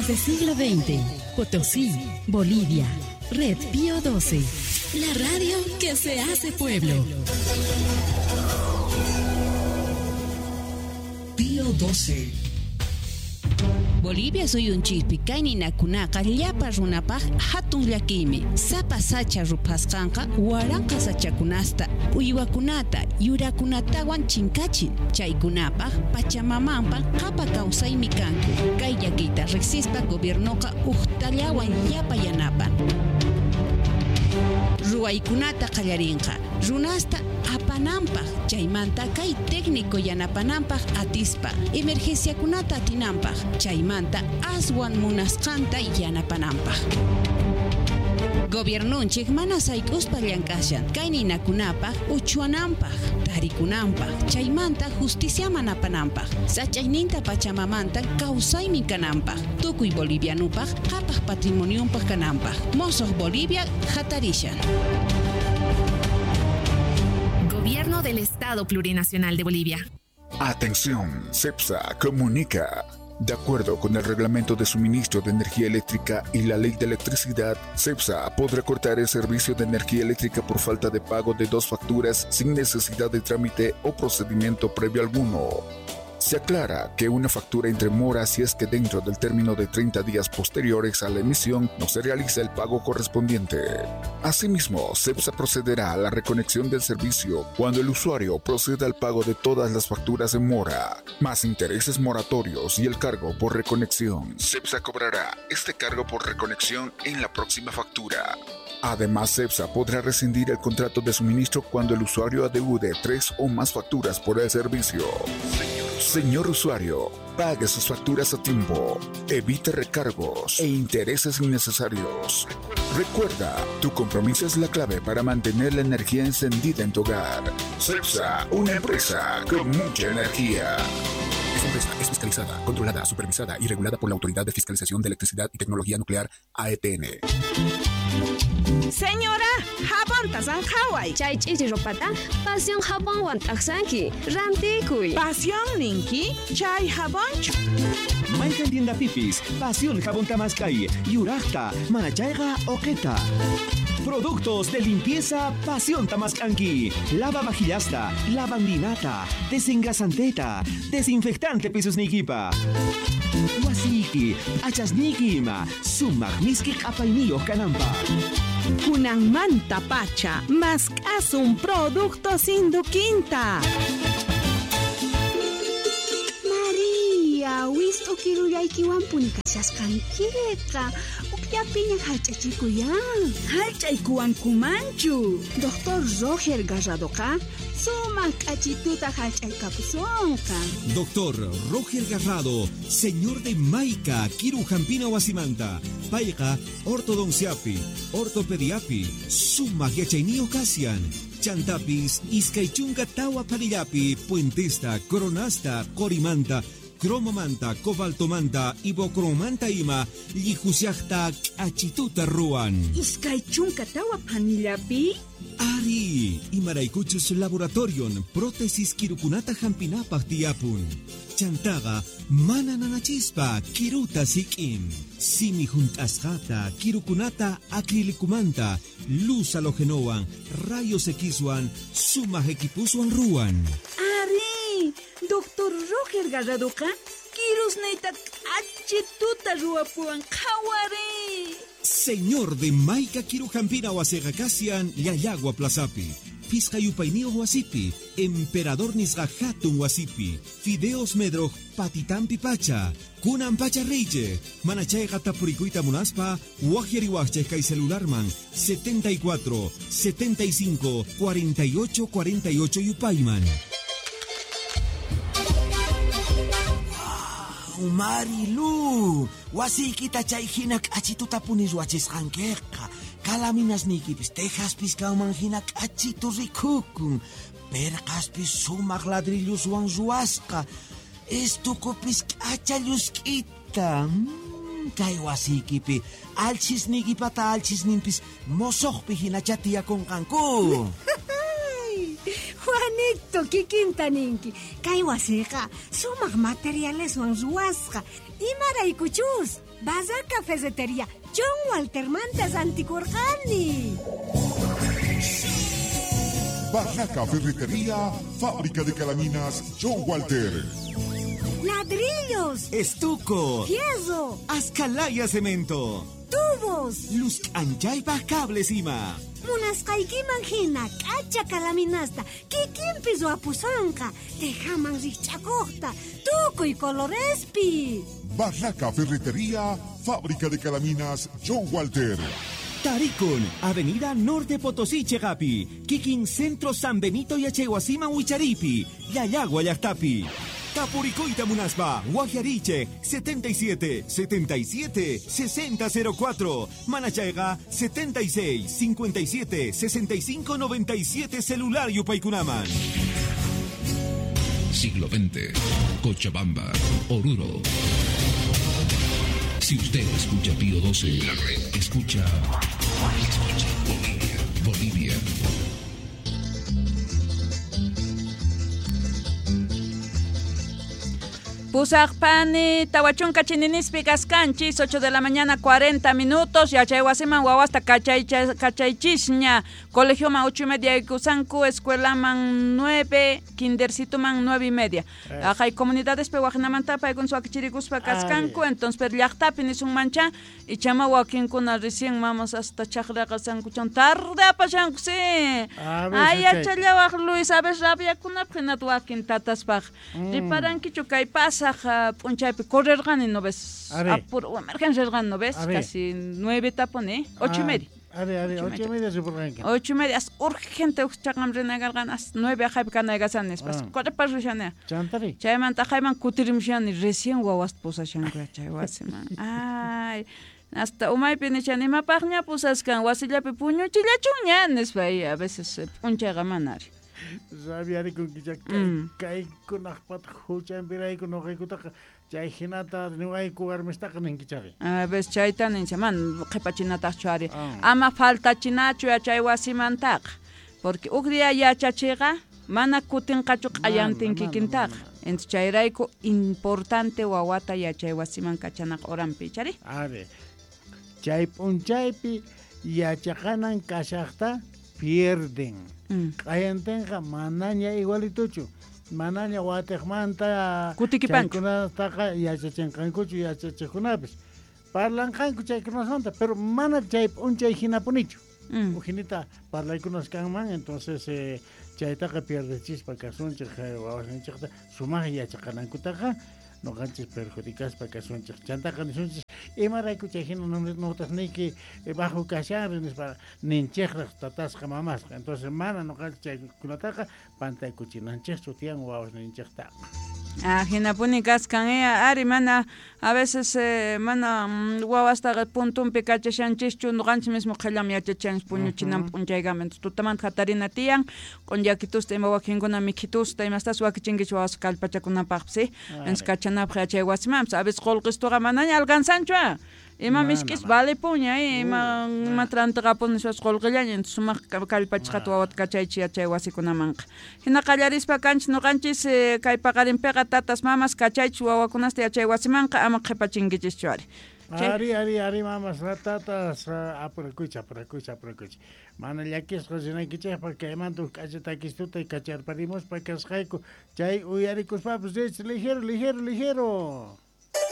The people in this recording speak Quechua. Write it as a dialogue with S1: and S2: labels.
S1: Desde siglo XX, Potosí, Bolivia. Red Pío 12. La radio que se hace pueblo.
S2: Pío 12.
S3: Bolivia suyunchikpi kay ninakunaqa llapa runapaq hatun llakiymi. Sapa sacha ruphasqanqa waranqa sachakunasta, uywakunata, yurakunatawan chinkachin. Chaykunapaq Pachamamanpa qhapa kawsaymi kanku. Kay llakiyta riqsispa gobiernoqa uqtallawan llapa yanapan. Ruwaykunata qallarinqa runasta apananpaq, chaymanta kay técnico yanapananpaq atispa, emergenciakunata atinanpaq, chaymanta aswan munasqanta yanapananpaq. Gobiernonchik mana sayk'uspa llank'ashan kay ninakunapaq uchuananpaq, tarikunanpaq, chaymanta justiciaman apananpaq, sach'ayninta Pachamamanta kawsaymi kananpaq, tukuy bolivianupaq qhapaq patrimonionpaq kananpaq. Mosoq Bolivia hatarishan.
S4: Gobierno del Estado Plurinacional de Bolivia.
S5: Atención, CEPSA comunica. De acuerdo con el Reglamento de Suministro de Energía Eléctrica y la Ley de Electricidad, CEPSA podrá cortar el servicio de energía eléctrica por falta de pago de 2 facturas sin necesidad de trámite o procedimiento previo alguno. Se aclara que una factura entre mora si es que dentro del término de 30 días posteriores a la emisión no se realiza el pago correspondiente. Asimismo, CEPSA procederá a la reconexión del servicio cuando el usuario proceda al pago de todas las facturas en mora, más intereses moratorios y el cargo por reconexión. CEPSA cobrará este cargo por reconexión en la próxima factura. Además, CEPSA podrá rescindir el contrato de suministro cuando el usuario adeude 3 o más facturas por el servicio. Señor usuario, pague sus facturas a tiempo, evite recargos e intereses innecesarios. Recuerda, tu compromiso es la clave para mantener la energía encendida en tu hogar. CEPSA, una empresa con mucha energía. Esta empresa es fiscalizada, controlada, supervisada y regulada por la Autoridad de Fiscalización de Electricidad y Tecnología Nuclear, AETN.
S6: Señora, jabonta sanqhaway.
S7: Chay ch'ichi ropata Pasión jabonwan t'aqsanki. Rantikuy.
S6: Pasión ninki, chay jabonchu.
S8: Mayqan tienda pipis, Pasión jabón tamaskay, yuraqta, manachayqa oqeta. Productos de limpieza Pasión Tamascanqui. Lava vajillasta, lavandinata, desengrasanteta, desinfectante pisusnikipa. Wasiki, achasniki ima, sumaq miski q'apayniyuq kananpaq.
S6: Kunanmanta pacha, mask'asun productos Induquinta.
S9: María, wist'u kirullaykiwanpuni kashasqankiqa. Ukllapiña hallch'achikuyan.
S6: Hallch'aykuwankumanchu.
S9: Doctor Roger Garradoqa sumaq k'achituta hallch'aykapusunqa.
S8: Doctor Roger Garrado, señor de Maica, Kiru Jampina Wasimanta, Payqa, ortodonciapi, ortopediapi, sumaq yachayniyuq kasian. Chantapis, iskay chunka tawa phanillapi, puentesta, coronasta, qorimanta, cromomanta, cobaltomanta, ibocromanta ima, llihusiaqta k'achituta ruwan.
S6: 24 phanillapi?
S8: Ari, imaraykuchus laboratorion, prótesis kirukunata hampinapaq tiyapun. Chantaqa, mana nanachispa, kiruta sik'in. Simi hunt'asqata, kirukunata acrilicumanta, luz halogenowan, rayos Xwan, sumaq equipuswan ruwan.
S6: Ari, Doctor Roger Garradoqa, kirusniyta k'achituta ruwapuwan qhawari.
S8: Señor de Maica Kirujampina wasiqa kasian Llallagua Plazapi, Pisqa yupayniyuq wasipi, Emperador nisqa hatun wasipi, Fideos Medroj patitampi pacha, Kunan pacha reyche, manachayqa tapurikuyta munaspa, waqyariwaqchik kay celularman 74 75 48 48 yupayman.
S10: Marilu, wasiykita chay hina k'achituta puni ruwachisqankiqa. Kalaminasniykipis tejaspis kanman hina k'achitu rikukun. Perqaspis sumaq ladrilloswan ruwasqa. Estukupis k'acha llusk'ita. Kay wasiykipi alchisniykipata alchisninpis mosoqpi hinacha tiyakunqanku.
S11: Juanito, kikinta ninki. Kay wasiqa sumaq materialeswan ruwasqa. Imaraykuchus Barraca Ferretería John Waltermanta rantikurqani.
S5: Barraca Ferretería, fábrica de calaminas John Walter.
S11: Ladrillos,
S8: Estuco,
S11: fierro,
S8: Ascalaya cemento,
S11: tubos,
S8: luz anchaypaj cables ima.
S11: Munasqaykiman hina k'acha calaminasta kikinpi ruwapusonqa, tejaman rikch'akuqta, tukuy colorespi.
S5: Barraca Ferretería, fábrica de calaminas John Walter.
S8: Tarikun, Avenida Norte Potosí, Chegapi, Kikin Centro San Benito Yachaywasiman Wicharipi, Llallagua llaqtapi. Tapurikuyta munaspa, Guajariche, 77 77 60 04, Manachayga, 76 57 65 97 celular Yupaykunaman.
S12: Siglo XX, Cochabamba, Oruro. Si usted escucha Pío 12, la red escucha. Escucha Bolivia, Bolivia.
S13: Pusaqpani, tawachunka chininispi kaskanchis, 8 de la mañana 40 minutos, yachaywasiman wawasta kachaychisña, colegioman 8:30 yaykusanku, escuelaman 9, kindercitoman 9:30. Hay comunidades pe wajinamanta paykuna wakichirikuspa kaskanku, entonces per llaqtapi nisunmancha, ichama wakinkuna recién mamas hasta chaqraqa sankuchan tarde apashanku, sí. Ay, yachallawaq Luis, a ver rabiakunapaq hinata wakin tataspaq. Riparankichu kay pasaq p'unchaypi correrqani, ¿no ves? Apuro, emergencia rerqani, ¿no ves? Casi 9 taponi, 8:30.
S14: A ver, 8:30 ripurqanki.
S13: 8:30, as urgente chaqam rinakarqani, as 9 aqhaypi kanaykasan nispas. Correpas rishani.
S14: Chantari.
S13: Chaymanta aqhayman kutirimushani, recién wawasta pusashanku chay wasiman. Ay, hasta umaypi nishani, imapaqña pusaskan, wasillapi puñuchillachunña nispa, y a veces p'unchayqa mana ari.
S14: Rabiarikunkicha kaykunaqpataq huchanpirayku nuqaykutaqa chay hinata niwayku warmistaqa ninkichari.
S13: A veces chayta nincha, man qhipachinataqchu ari. Ama faltachinachu yachay wasimantaqa, porque huk día yachachiqa mana kutinqachu q'ayantin kikintaqa. Entonces chayrayku importante wawata yachay wasiman kachanaqa horanpi, chari.
S14: Ari, chay p'unchaypi yachaqanan kashaqta pierden. Q'ayantinqa manaña igualituchu, manaña watiqmanta chaykunataqa yachachinqankuchu yachachiqkunapis. Parlanqanku chaykunasmanta, pero mana chay p'unchay hinapunichu. Ujinita parlaykunas kanman, entonces chaytaqa pierdechispa kasunchik wawasninchikta sumaq yachaqanankutaqa noqanchis perjudicaspa kasunchik. Chantaqa nisunchis imarayku chay hina notasniyki bajo kashanri nispa ninchiqraq tatasqa mamasqa. Entonces mana noqanchis chaykunataqa pantaykuchinanchikchu tiyan wawasninchiktaqa.
S13: Ah, hinapuni kaskan ari mana a veces mana wawastaqa puntunpi kachashanchischu noqanchis mismo qhellam yachachanchis puñuchinan p'unchaykama. Entonces tutamanta hatarina tiyan q'unyakitusta ima wakinkuna mikhitusta imastas wakichinkichis wawas kallpachakunapaqpis, sí. Entonces kachanapaq yachay wasimanpis a veces qullqistuqa manaña alcanzanchu. Ima misk'is vale puña, ima matrantiqapun nispas qullqillaña, entonces sumaq kallpachisqata wawata kachaychis yachay wasikunamanqa. Hina qallarispa kanchis noqanchis kay paqarinpiqa tatas mamas kachaychis wawakunasta yachay wasimanqa ama qhipachinkichishchu ari.
S14: Ari, ari, ari, mamas, tatas, apurakuychis, apurakuychis, apurakuychis. Mana llakisqa rinaykichikpaq kaymanta huk k'acha takistuta kacharparimuspa kasqayku chay uyarikuspapas rich ligero, ligero, ligero.